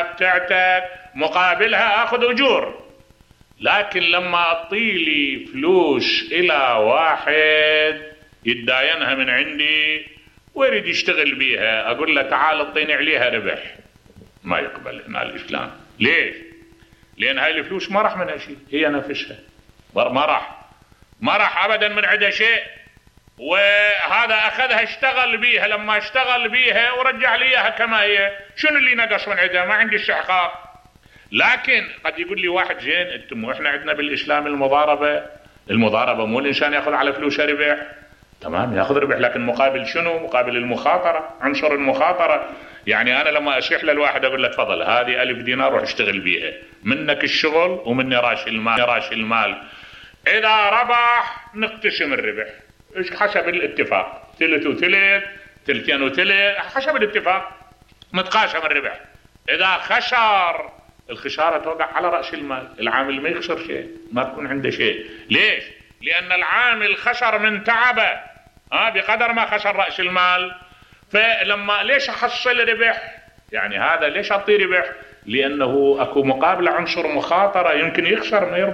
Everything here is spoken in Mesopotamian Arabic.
بتاعتك مقابلها اخذ اجور. لكن لما اعطيلي فلوس الى واحد يتداينها من عندي ويريد يشتغل بيها، اقول له تعال اعطيني عليها ربح، ما يقبل هنا الاسلام. ليش؟ لان هاي الفلوس ما راح منها شيء، هي نفسها ما راح ابدا من عندها شيء، وهذا اخذها اشتغل بيها، لما اشتغل بيها ورجع لي اياها كما هي، شنو اللي نقص من عندها؟ ما عندي استحقاق. لكن قد يقول لي واحد زين انتم احنا عندنا بالاسلام المضاربه مو الانسان ياخذ على فلوسه ربح، تمام ياخذ ربح، لكن مقابل شنو؟ مقابل المخاطره، عنصر المخاطره. يعني انا لما اشيح للواحد اقول له تفضل هذه 1000 دينار روح اشتغل بيها، منك الشغل ومني راس المال، اذا ربح نقتسم الربح حسب الاتفاق، ثلث وثلث، ثلثين وثلث، حسب الاتفاق متقاسم الربح. اذا خسر الخساره توقع على راس المال، العامل ما يخسر شيء، ما تكون عنده شيء. ليش؟ لان العامل خسر من تعبه بقدر ما خسر راس المال. فلما ليش احصل ربح؟ يعني هذا ليش اعطيه ربح؟ لانه اكو مقابله عنصر مخاطره، يمكن يخسر ما يربح.